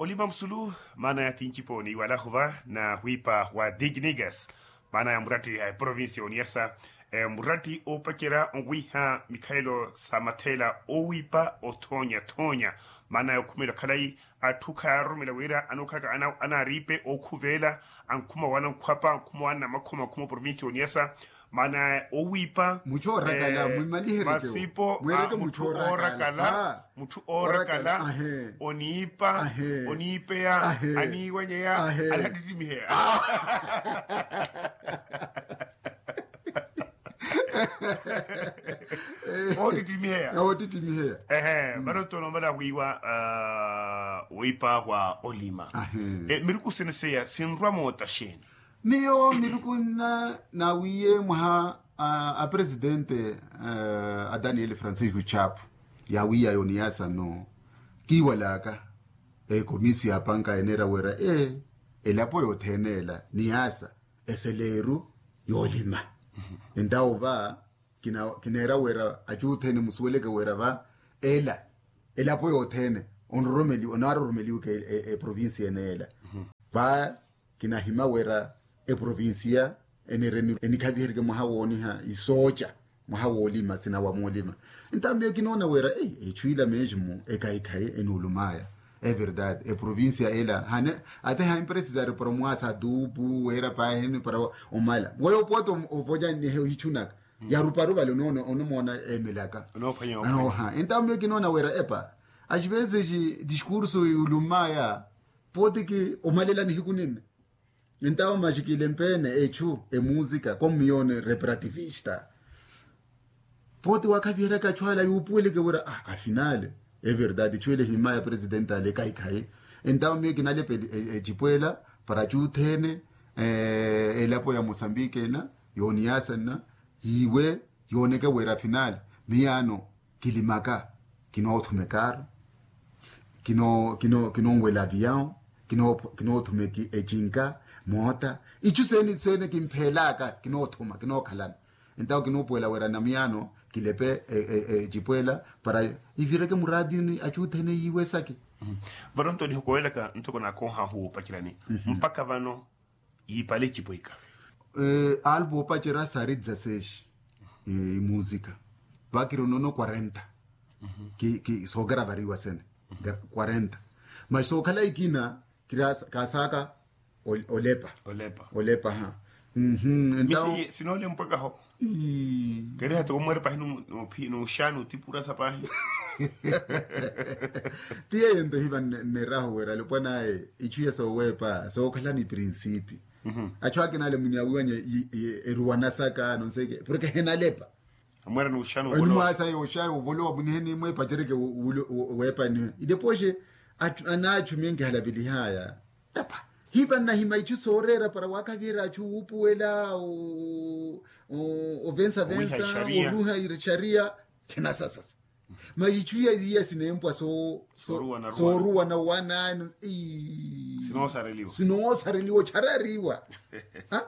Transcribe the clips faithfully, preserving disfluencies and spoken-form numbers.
Olima musulu maana ya tinci pooni wala huva na hwipa wa dignigas maana ya muratti a provinsi ya oniyasa, muratti opacerya owiha mikhalelo sa mathela owipa othoonya thoonya. Maana ya okhumela khalayi atthu khayaaroromela wira anookhalaka anaariipe okhuvela ankhuma wana nkhwapa ankhuma wana namakhoma ankhuma provinsi ya oniyasa. Maana owipa mutthu oorakala. Masipo mutthu oorakala. Mutthu oorakala oniipa oniipeya aniiwanyeya anihattittimiheya. Oottittimiheya. Oottittimiheya. Ehe vano ntoonoomala wiiwa wiipa wa olima. Miruku sene seya sinrwa moota xeeni? Miyo miruku nna naawiiye mwaha a presidente a daniel francisco chapo yaawiiyaya oniyasa nno kiiwalaka ekomisio ya panka eneera wira elapo yothene ela niyasa eseleeru yoolima. Entawo va kineera wira acuuthene musuweleke wira va ela elapo yothene onroromeliwaka eprovinsi ene ela. Va kinahima wira eprovinsiya enire enikhaviherike mwaha wooniha isooca mwaha woolima sinawa moolima. Entawo miyo kinoona wira echu ila mesmo ekahikhayi enuulumaya everdade eprovinsiya ela hane ate haimpresisari para omwaasa atuupu wira paahini para omala weyo pote ovocannihe ohichunaka yaruparu vale onomoona emelaka. Entawo miyo kinoona wira epa axivezexi discurso yuulumaya pote ki omalela nihiku ninne. Entawo maxikile mpeene echu emusika kommiyone reparativista. Pote waakhaviheryaka achu ala yuupuweleke wira afinale everdade echu ele himaya presidente ale ekahikhayi. Entawo miyo kinalepa ecipo ela para achu othene elapo ya mosambike ena yooniyasa nna yiiwe yooneke wira afinale miyaano kilimaka kinoothuma ekaaru kinonwela aviyawu kinoothuma ecinka moota ichu sene sene kimphelaka kinoothuma kinookhalana. Entawo kinuupuwela wira namiyaano kilepe ecipo ela para ivireke muraatiyuni achu othene yiiwe esaki. Vano nto nihokowelaka ntoko naakoohahu woopacerani mpakha vano yiipale ecipo ikavi. Alpu opacerya saari dizasexi imusika vakiri onono quarenta sookaravariwa sene quarenta. Maxi sookhala ikina kiri kaasaka olepa olepa olepa ha. Misi sinoolempwekaho keriha toko mweera pahi nuxaani otipurasa pahi. Ti yeyo nto hiva nneerahu wira alopwanaye ichu iya sooweepa sookhala ni prinsipi. Achu akina ale munyawiwanya eruwanasaka nonseke porke henalepa. Amweera nuxaani onimwaasaya oxayi ovolowa muniheni mweepacereke weepaniwe idepoxe anaachu miyo nkihalavelihaaya. Tapa hiva nnahima ichu sooreera para waakhaviherya achu wuupuwela ovensavensa oruha ixariya. Khinasasasa masi ichu iya sineempwa sooruwa na wana sinoosareliwa ocharariwa.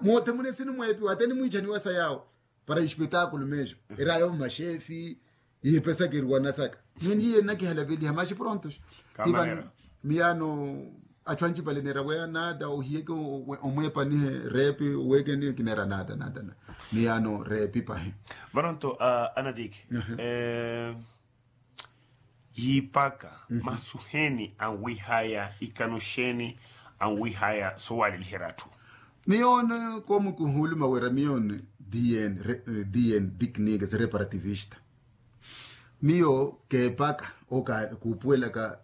Moote mune sinimweepiwa ate nimwiichaniwa sa yaawo para espetaakulu mesmo eraya omaxefi yipesaka eruwanasaka. Meni iye nnakihalaveliha maxi prontos. Miyaano achu ancipale neera weya nata ohiyeke omweepanihe reepi owekeni kineera nata nata miyaano reepi pahi. Vano nto anatiki yiipaka masu heeni anwihaya ikano xeeni anwihaya soowaleliherya atthu. Miyoone koomukuhuluma wira miyoone dn dn diknike si reparativista. Miyo keepaka oka kuupuwelaka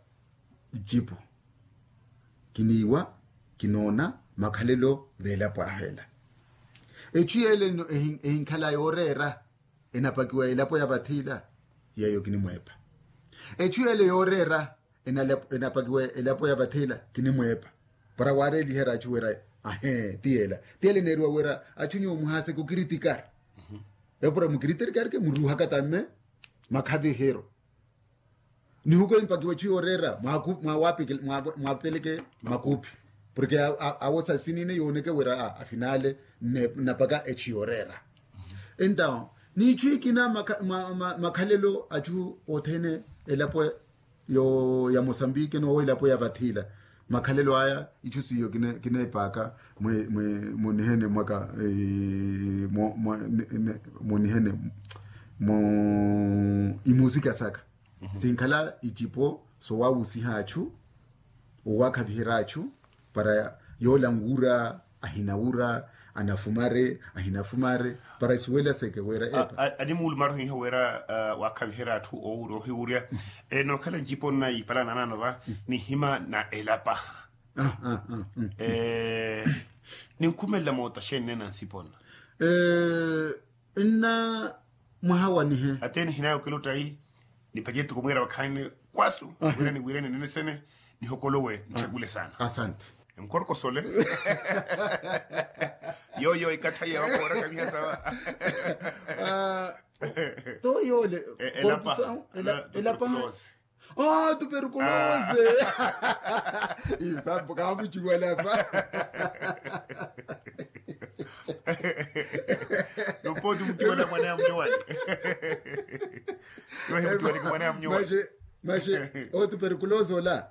icipo kiniiwa kinoona makhalelo veelapo ahela. Echu yeele ehinkhala yooreera enapakiwa elapo ya vathi ila yeeyo kinimweepa. Echu yeele yooreera enapakiwa elapo ya vathi ila kinimweepa. Para waareeliherya achu wira ahee ti yeela ti yeela eneeriwa wira achu nyuwo muhaaseke okiritikari. Eyo para mukiritikari ke muruuhaka tamme makhavihiro. Nihuko empakiwa echu yooreera mwaapeleke makuuphi porke awo sa sinine yooneke wira afinale nnapaka echu yooreera. Entawo n'ichu ikina makhalelo achu othene elapo ya mosambike n'owo elapo ya vathila Makhalelo aya itthu siiyo kineepaaka munihene mwaka munihene mu imusika saka sinkhala icipo sowawusiha atthu owakhaviherya atthu para yoola nwura ahinawura anafumare ahinafumare para isuwela seke wira epa. Animuulu maruhiha wira wakhaviherya atthu owurya ohiwurya. Nookhala ncipo nna yiipalana naano va nihima na elapaha ninkhumelela moota xeeni neena nsipo nna nna mwaha wanihe. Ate nihinaya okiluttayi niphace ettuku mwiira vakhaani kwasu wira niwireni nenesene nihokolowe nitthekule saana. Asante. Nkorokosole yooyo ikathayi yawakoora kaviha sawa. Too yoole elapaha. Elapaha. Tuperkuloose. Iyo sampo kaamuciwala apa. Nopooti muciwala mwana ya muciwala. Nohi muciwala ki mwana ya muciwala. Maxe otuperkuloose ola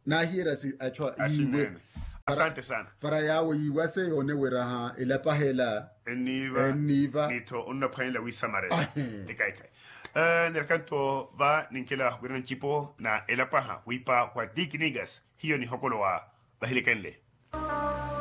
naahiyerya si achwa yiiwe. Asante sana. Para yaawo yiiwase yoone wira elapaha ela enniiva. Enniiva nitho onnaphwanela wiisamarela. Ekaikai. Nirakanto va ninkela wirana ncipo na elapaha wiipa wa dikinigas hiyo nihokolowa vahilikenle.